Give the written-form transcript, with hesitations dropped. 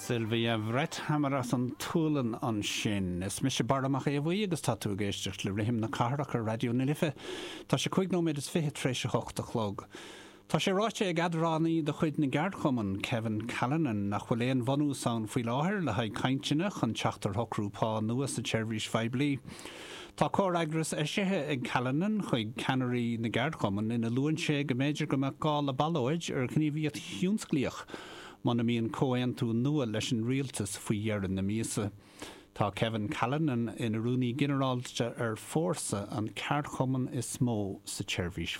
Sylvia Vrethammar as an tSualainn ansin. Is mise Barra Mac Aodha Bhuí agus tá tú ag éisteacht le Rithim na Cathrach ar Raidió na Life. Tá sé 5 nóiméad is 20 tar éis a hocht a chlog. Tá sé ráite ag eadránaí de chuid na gceardchumann, Kevin Callinan, nach bhfuil aon bhunús ann faoi láthair le haghaidh cainteanna chun teacht ar shocrú pá nua sa tseirbhís phoiblí. Tá comhfhreagras eisithe ag Callinan chuig ceannairí na gceardchumann ina luann sé go mb'fhéidir go mbeadh gá le ballóid ar ghníomhaíocht thionsclaíoch muna mbíonn comhaontú nua leis an rialtas faoi dheireadh na míosa. Tá Kevin Callinan ina Rúnaí Ginearálta ar Fórsa, an ceardchumann is mó sa tseirbhís.